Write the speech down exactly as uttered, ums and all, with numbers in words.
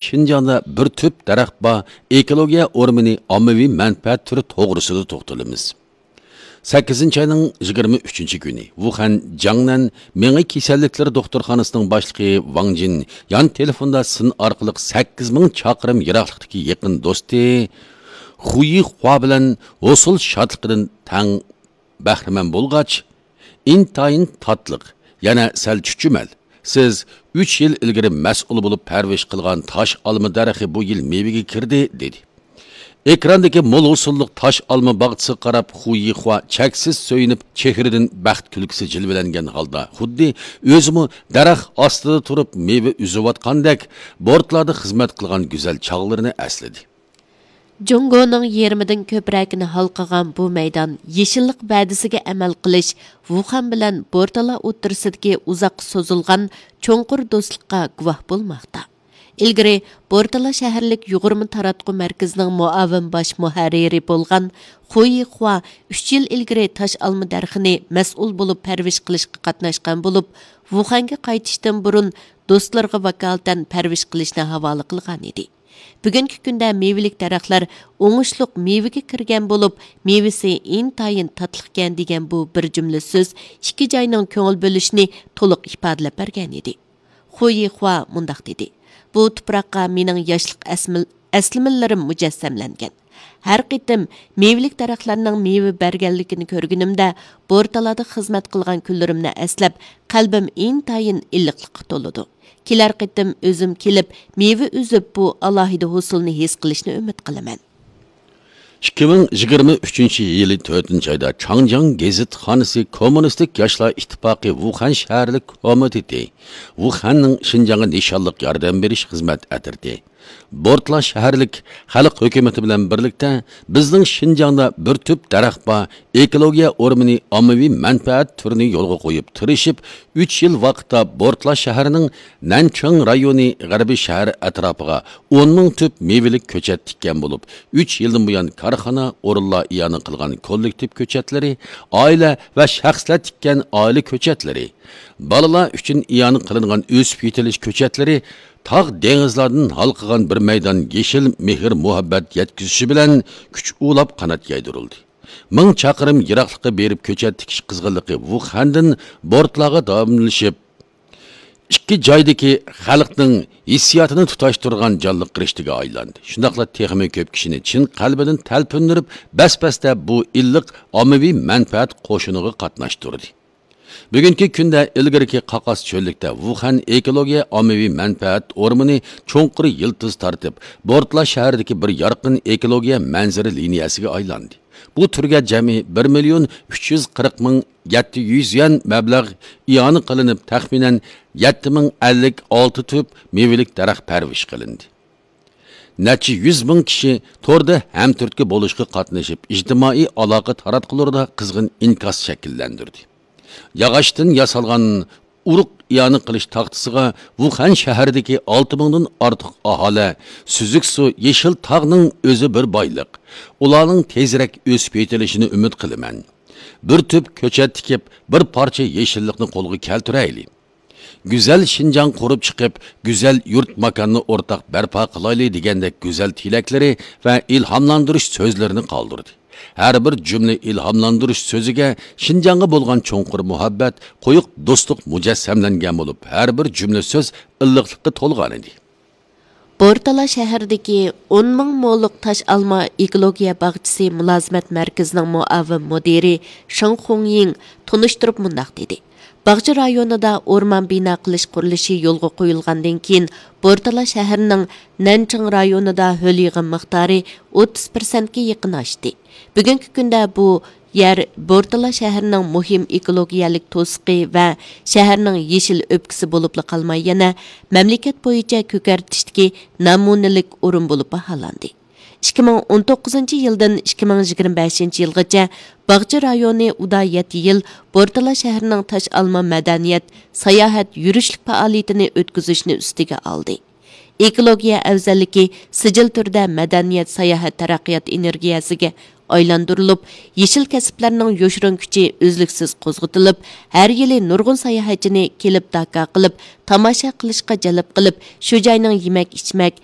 شىنجاڭدا بىر تۈپ دەرەخ بار ئېكولوگىيە ئورمىنى ئاممىۋى مەنپەئەت تۈرى توغرىسىدا توختىلىمىز. سەككىزىنچى ئاينىڭ يىگىرمە ئۈچىنچى كۈنى ۋۇخەن جاڭنەن مېڭە كېسەللىكلىرى دوختۇرخانىسىنىڭ باشلىقى ۋاڭ جىن يان تېلېفوندا سىن ئارقىلىق سەككىز مىڭ چاقىرىم يىراقلىقتىكى يېقىن دوستى خۇيى خۇا بىلەن ھوسۇل شادلىقىدىن تەڭ بەھرىمەن بولغاچ، ئىنتايىن تاتلىق، يەنە سەل چۈچۈمەل. سىز ئۈچ يىل ئىلگىرى مەسئۇل بولۇپ پەرۋىش قىلغان تاش ئالما دەرىخى بۇ يىل مېۋىگە كىردى، دېدى. ئېكراندىكى مول ھوسۇللۇق تاش ئالما باغچىسىغا قاراپ خۇ يىخۇا چەكسىز سۆيۈنۈپ، چېھرىدىن بەخت كۈلكىسى جىلۋىلەنگەن ھالدا، خۇددى ئۆزىمۇ دەرەخ ئاستىدا تۇرۇپ مېۋە ئۈزۈۋاتقاندەك، بورتلادا خىزمەت قىلغان گۈزەل چاغلىرىنى ئەسلىدى. جۇڭگونىڭ يېرىمىدىن كۆپرەكىنى ھالقىغان بۇ مەيدان يېشىللىق ۋەدىسىگە ئەمەل قىلىش، ۋۇخەن بىلەن بورتالا ئوتتۇرىسىدىكى ئۇزاققا سوزۇلغان چوڭقۇر دوستلۇققا گۇۋاھ بولماقتا. ئىلگىرى بورتالا شەھەرلىك يۇغۇرما تاراتقۇ مەركىزىنىڭ مۇئاۋىن باش مۇھەررىرى بولغان خۇ يىخۇا ئۈچ يىل ئىلگىرى تاش ئالما دەرىخىنى مەسئۇل بولۇپ پەرۋىش قىلىشقا قاتناشقان بولۇپ، ۋۇخەنگە قايتىشتىن بۇرۇن دوستلىرىغا ۋاكالىتەن پەرۋىش قىلىشنى ھاۋالە قىلغانىدى. بۈگۈنكى كۈندە مېۋىلىك دەرەخلەر ئوڭۇشلۇق مېۋىگە كىرگەن بولۇپ، مېۋىسى ئىنتايىن تاتلىقكەن دېگەن بۇ بىر جۈملە سۆز ئىككى جاينىڭ كۆڭۈل بۆلۈشىنى تولۇق ئىپادىلەپ بەرگەنىدى. خۇ يىخۇا مۇنداق دېدى: بۇ تۇپراققا مېنىڭ ياشلىق ئەسمىل-، ئەسلىمىلىرىم مۇجەسسەملەنگەن. ھەر قېتىم مېۋىلىك دەرەخلەرنىڭ مېۋە بەرگەنلىكىنى كۆرگىنىمدە، بورتالادا خىزمەت قىلغان كۈنلىرىمنى ئەسلەپ، قەلبىم ئىنتايىن ئىللىقلىققا تولىدۇ. كېلەر قېتىم ئۆزۈم كېلىپ، مېۋە ئۈزۈپ، بۇ ئالاھىدە ھوسۇلنى ھېس قىلىشنى ئۈمىد قىلىمەن. ئىككى مىڭ يىگىرمە ئۈچىنچى يىلى تۆتىنچى ئايدا چاڭجياڭ گېزىتخانىسى كوممۇنىستىك ياشلار ئىتتىپاقى ۋۇخەن شەھەرلىك كومىتېتى، ۋۇخەننىڭ شىنجاڭغا نىشانلىق ياردەم بېرىش خىزمەت ئەترىتى، بورتلا شەھەرلىك خەلق ھۆكۈمىتى بىلەن بىرلىكتە بىزنىڭ شىنجاڭدا بىر تۈپ دەرەخ بار ئېكولوگىيە ئورمىنى ئاممىۋى مەنپەئەت تۈرىنى يولغا قويۇپ تىرىشىپ، ئۈچ يىل ۋاقىتتا بورتلا شەھىرىنىڭ نەنچىڭ رايونى غەربىي شەھەر ئەتراپىغا ئون مىڭ تۈپ مېۋىلىك كۆچەت تىككەن بولۇپ، ئۈچ يىلدىن بۇيان كارخانا، ئورۇنلار ئىئانە قىلغان كوللېكتىپ كۆچەتلىرى، ئائىلە ۋە شەخسلەر تىككەن ئائىلە كۆچەتلىرى، بالىلار ئۈچۈن ئىئانە قىلىنغان ئۆسۈپ يېتىلىش كۆچەتلىرى، تاغ دېڭىزلاردىن ھالقىغان بىر مەيدان يېشىل مېھىر مۇھەببەت يەتكۈزۈشى بىلەن كۈچ ئۇلاپ قانات يايدۇرۇلدى. مىڭ چاقىرىم يىراقلىققا بېرىپ كۆچەت تىكىش قىزغىنلىقى ۋۇخەندىن بورتلاغا داۋاملىشىپ، ئىككى جايدىكى خەلقنىڭ ھېسسىياتىنى تۇتاشتۇرغان جانلىق رىشتىگە ئايلاندى. شۇنداقلا تېخىمۇ كۆپ كىشىنى چىن قەلبىدىن تەلپۈندۈرۈپ، بەس-بەستە بۇ ئىللىق ئاممىۋى مەنپەئەت قوشۇنىغا قاتناشتۇردى. بۈگۈنكى كۈندە ئىلگىرىكى قاقاس چۆللۈكتە ۋۇخەن ئېكولوگىيە ئاممىۋى مەنپەئەت ئورمىنى چوڭقۇر يىلتىز تارتىپ، بورتلا شەھىرىدىكى بىر يارقىن ئېكولوگىيە مەنزىرە لىنىيەسىگە ئايلاندى. بۇ تۈرگە جەمئىي بىر مىليون ئۈچ يۈز قىرىق مىڭ يەتتە يۈز يۈەن مەبلەغ ئىئانە قىلىنىپ، تەخمىنەن يەتتە مىڭ ئەللىك ئالتە تۈپ مېۋىلىك دەرەخ پەرۋىش قىلىندى. نەچچە يۈز مىڭ كىشى توردا ھەمتۈرتكە بولۇشقا قاتنىشىپ، ئىجتىمائىي ئالاقە تاراتقۇلىرىدا قىزغىن ئىنكاس شەكىللەندۈردى. ياغاچتىن ياسالغان ئۇرۇق ئىئانە قىلىش تاختىسىغا ۋۇخەن شەھىرىدىكى ئالتە مىڭدىن ئارتۇق ئاھالە، سۈزۈك سۇ، يېشىل تاغنىڭ ئۆزى بىر بايلىق. ئۇلارنىڭ تېزرەك ئۆسۈپ يېتىلىشىنى ئۈمىد قىلىمەن. بىر تۈپ كۆچەت تىكىپ، بىر پارچە يېشىللىقنى قولغا كەلتۈرەيلى. گۈزەل شىنجاڭ قۇرۇپ چىقىپ، گۈزەل يۇرت ماكاننى ئورتاق بەرپا قىلايلى دېگەندەك گۈزەل تىلەكلىرى ۋە ئىلھاملاندۇرۇش سۆزلىرىنى قالدۇردى. ھەر بىر جۈملە ئىلھاملاندۇرۇش سۆزىگە شىنجاڭغا بولغان چوڭقۇر مۇھەببەت، قويۇق دوستلۇق مۇجەسسەملەنگەن بولۇپ، ھەر بىر جۈملە سۆز ئىللىقلىققا تولغانىدى. بورتالا شەھىرىدىكى ئون مىڭ مولۇق تاش ئالما ئېكولوگىيە باغچىسى مۇلازىمەت مەركىزىنىڭ مۇئاۋىن مۇدىرى شېڭ خۇڭيىڭ تونۇشتۇرۇپ مۇنداق دېدى: باغچە رايونىدا ئورمان بىنا قىلىش قۇرۇلۇشى يولغا قويۇلغاندىن كېيىن، بورتالا شەھىرىنىڭ نەنچىڭ رايونىدا ھۆل يىغىم مىقدارى ئوتتۇز پىرسەنتكە يېقىن ئاشتى. بۈگۈنكى كۈندە بۇ يەر بورتالا شەھىرىنىڭ مۇھىم ئېكولوگىيەلىك توسۇقى ۋە شەھەرنىڭ يېشىل ئۆپكىسى بولۇپلا قالماي، يەنە مەملىكەت بويىچە كۆكەرتىشتىكى نەمۇنىلىك ئورۇن بولۇپ باھالاندى. ئىككى مىڭ ئون توققۇزىنچى يىلدىن ئىككى مىڭ يىگىرمە بەشىنچى يىلغىچە باغچە رايونى ئۇدا يەتتە يىل بورتالا شەھىرىنىڭ تاش ئالما مەدەنىيەت، ساياھەت، يۈرۈشلۈك پائالىيىتىنى ئۆتكۈزۈشنى ئۈستىگە ئالدى. ئېكولوگىيە ئەۋزەللىكى سىجىل تۈردە مەدەنىيەت، ساياھەت، تەرەققىيات ئېنېرگىيەسىگە ئايلاندۇرۇلۇپ، يېشىل كەسىپلەرنىڭ يوشۇرۇن كۈچى ئۈزلۈكسىز قوزغىتىلىپ، ھەر يىلى نۇرغۇن ساياھەتچىنى كېلىپ داكا قىلىپ، تاماشا قىلىشقا جەلپ قىلىپ، شۇ جاينىڭ يېمەك-ئىچمەك،